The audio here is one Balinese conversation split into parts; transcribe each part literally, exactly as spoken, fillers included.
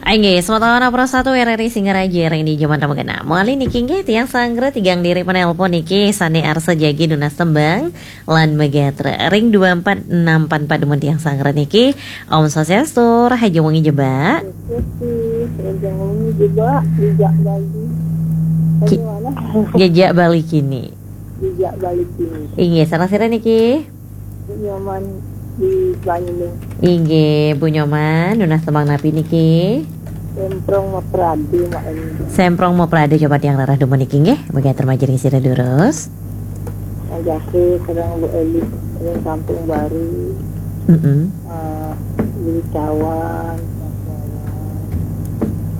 Inggih, semeton Pro satu R R I Singaraja ring dija manten magenah. Malih niki inggih tiang sanggra tigang diri penelpon niki sane arsa jagi nunas tembang lan magatra ring dua empat enam empat empat dumun tiang sanggra niki. Om Swastiastu, rahajeng wengi Jebak. Swastiastu, rahajeng wengi Jebak, Jejak Bali. Ki- Bagaimana? Jejak Bali kini. Jejak Bali kini. Inggih, sareng sira niki? Bu Nyoman di Banyuning. Inggih, Bu Nyoman, nunas tembang napi niki? Semprong Maprade, Mak Eni. Semprong Maprade, coba tiang rarah dumun niki nggih. Mangkin atur majeng ring sira durus. Ajase sareng Bu Eli ring Kampung Baru. Mm-mm. Eh, Beli Cawan,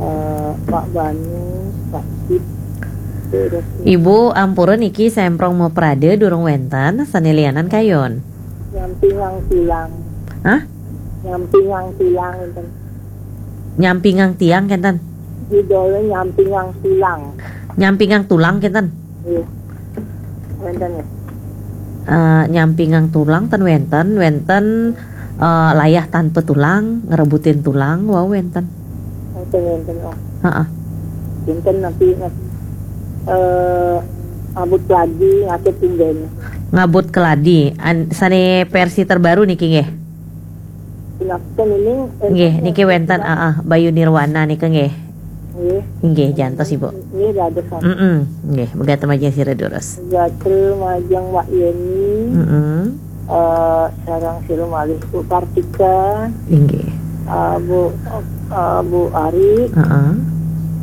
eh, Pak Banu, Pak Sip. Terus Ibu, ampura niki Semprong Maprade durung wenten, sane lianan kayun. Nyampingang Tulang. Hah? Nyampingang Tulang enten. Nyampingang tiang kenten. Judulnya Nyampingang Tulang. Nyampingang Tulang kenten. Iya. Wenten ya. Eh, Nyampingang Tulang ten wenten, wenten, eh, Layah Tanpa Tulang, Ngerebutin Tulang, wau wenten. Wenten, wenten, oh. Heeh. Wenten napi, napi. Eh, Ngabut Keladi, Ngabut Tumben. Ngabut Keladi, an-, sane versi terbaru niki nggih. Pinaka nining, eh, Nggih, niki wenten, heeh, Bayu Nirwana nika nggih. Nggih. Inggih, jantos, Ibu. Nggih, dados. Mm-mm, nggih, mangkin atur majeng sira durus. Gatra majeng Mbak Yeni. Mm-mm. Eh, sareng sira malih Bu Kartika. Inggih. Eh, Bu, eh, Bu Ari. Heeh.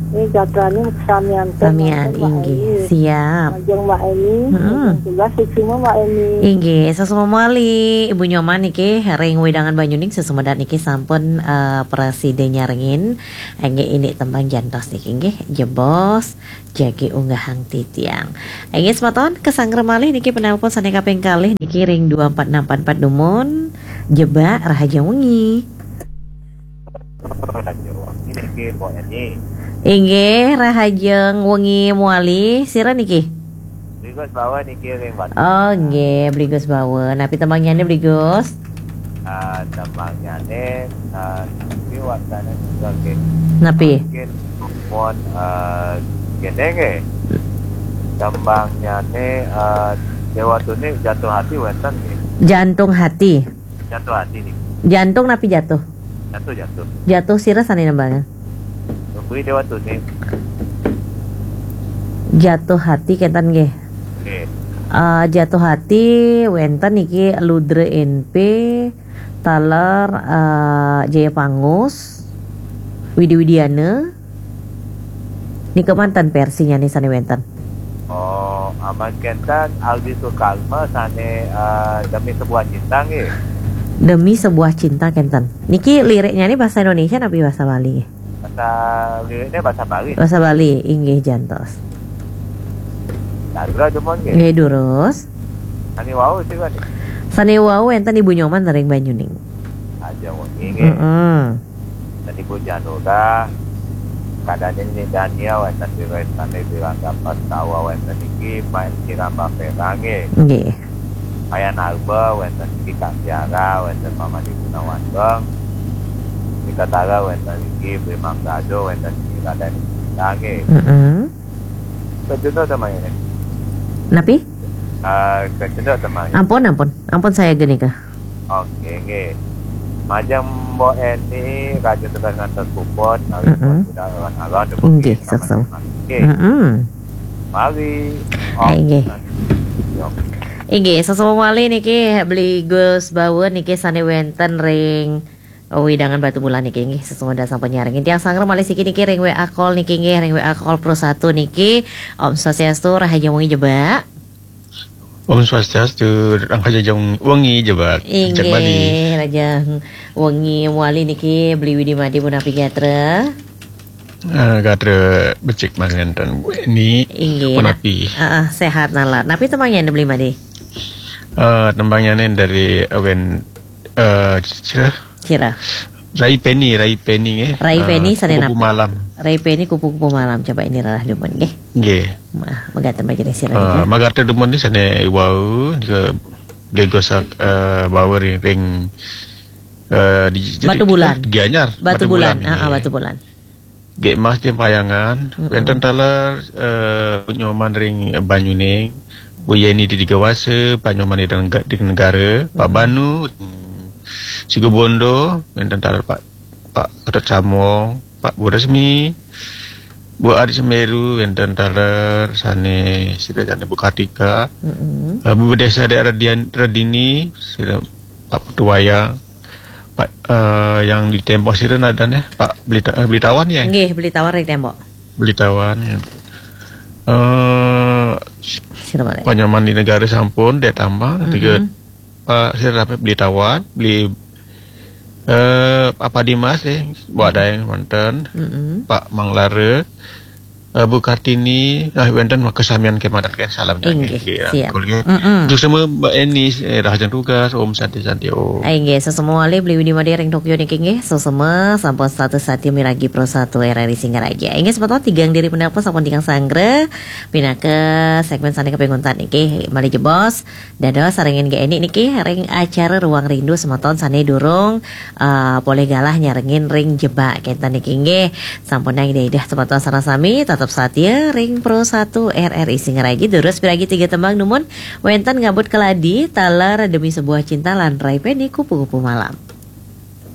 Ini gatrane samian. Samian, Mbak inggih. Yeni. Siap. Majeng Mbak Eni. Mm-mm. Majeng tugas suksma Mbak Eni. Inggih, suksma malih Ibu Nyoman niki ring wewidangan Banyuning, suksma niki sampun, eh, prasida nyarengin. Inggih, ini tembang jantos niki nggih, Jebos jagi unggahang titiang. Inggih semeton, kasanggra malih niki penelpon sane kaping kalih niki ring dua empat enam empat empat dumun. Jebak, rahajeng wengi. Rahajeng wengi niki, Bu Eni. Inggih, rahajeng wengi malih. Sira niki? Bli Gus Bawa niki ring Batu. Oh, nggih, Bli Gus Bawa. Napi tembangnyane, Bli Gus? Ah, tembangnyane, ah, niki wastane juga nggih. Napi? Mungkin pun, ah, kene nggih. Tembangnyane, ah, Dewa Tune Jatuh Hati wenten nggih. Jantung Hati. Jatuh Hati niki. Jantung napi jatuh? Jatuh, jatuh. Jatuh sira sane nembangang? Bli Dewa Tune. Jatuh Hati kenten nggih. Nggih. Eh, Jatuh Hati wenten niki Ludra N P, taler, eh, Jaya Pangus, Widi Widiana. Nika manten versinyane sane wenten. Oh, aman kenten Aldi Sukarma sane, eh, Demi Sebuah Cinta nggih. Demi Sebuah Cinta kenten. Niki liriknyane bahasa Indonesia napi bahasa Bali? Bahasa liriknya bahasa Bali. Bahasa Bali, inggih jantos. Sandra demen nggih. Nggih durus. Sane wau sira niki. Sane wau wenten Ibu Nyoman ring Banyuning. Rahajeng wengi nggih. Heeh. Tadi Bu Janura, kadane ini Daniel wenten di westane di Rangga Pastawa wenten iki main Kiramba Perang nggih. Nggih. Mayan Arba wenten iki Kak Tiara, wenten Mama di Gunawan Bang. Kita Tara wenten iki Bli Mangkado wenten iki Raden Bintang nggih. Heeh. Kacunduk sama ini. Napi? Ah, kacunduk sama ini. Ampun, ampun. Ampun saya gini kah? Oke, nggih. Majeng Mbok Eni, Raja Tugas ngantos puput, mari Mm-mm. Puput udah lawan alon, Nggih, sama-sama. Nggih. Mm-mm. Mari. Om Nggih. Santi. Om. Inggih, suksma malih niki Bli Gus Bawa niki sane wenten ring wewidangan Batubulan niki nggih, suksma sampun nyarengin. Tiang sanggra malih siki niki ring W A call niki nggih, ring W A call Pro satu niki. Om Swastiastu, rahajeng wengi Jebak. Om Swastiastu, rahajeng wengi Jebak. Inggih, rahajeng wengi malih niki Bli Widi Made punapi gatra? Eh, gatra becik malih nenten Bu Eni. Inggih. Punapi? Heeh, sehat nalar. Napi tembangnyane Bli Made? Eh, tembangnyane dari Awen, eh, sira? Sira. Rai Peni, Rai Peni nggih. Rai Peni, eh, sane Kupu-Kupu Malam. Rai Peni, Kupu-Kupu Malam. Coba ini rarah dumun nggih. Nggih. Mah, magatra majeng sira nggih. Magatra dumun niki sane wau nika Bli Gus, eh, Bawa ring, ring, eh, di, di, Batubulan. Gianyar. Batubulan. Batubulan, ah, ah, nggih. Batubulan. Gek Mas di Payangan, wenten taler eh, Nyoman ring Banyuning, Bu Yeni di Digawasa, Pak Nyoman di Nega- di Negara, Pak Banu Sigobondo, wenten taler Pak Pak Ketut Samong, Pak Bu Resmi, Bu Adi Semeru, wenten taler sane sida jane Bu Kartika, eh, Bu Desa Dek Radian- Radini, sida Pak Putu Wayang, Pak eh, yang di Tembok sida nadan ya, Pak Belita, eh, Belitawan ya. Nggih, Belitawan ring Tembok. Belitawan ya. Eh Sira balik. Panyaman di Negara sampun dek tambah tiga Pak sira dapat Belitawan, beli eh Apa Dimas eh, Buat Daeng manten, Mm-mm. Pak Manglara, eh, Bu Kartini, nah wenten maka samian kemadan ke salam Inggih, nggih, siap. Kulih. Mm-mm. Untuk semua Mbak Eni, eh, rahajeng tugas, Om Santi Santi Om. Inggih, sesama wali beli Widi Made ring Tokyo niki nggih. Sesama sampun status sati miragi Pro satu R R I Singaraja. Inggih, semeton tigang diri punapa sampun tigang sanggra pinaka segmen sane kaping untat niki malih jebos. Dados sarengin G N I niki ring acara Ruang Rindu semeton sane durung eh, polih galah nyarengin ring jebak kenten niki nggih. Sampunang Ida Idah semeton sareng sami tetep satia ring Pro satu R R I Singaraja. Durus piragi tiga tembang dumun wenten ngabut keladi taler Demi Sebuah Cinta lan Rai Peni Kupu-kupu Malam.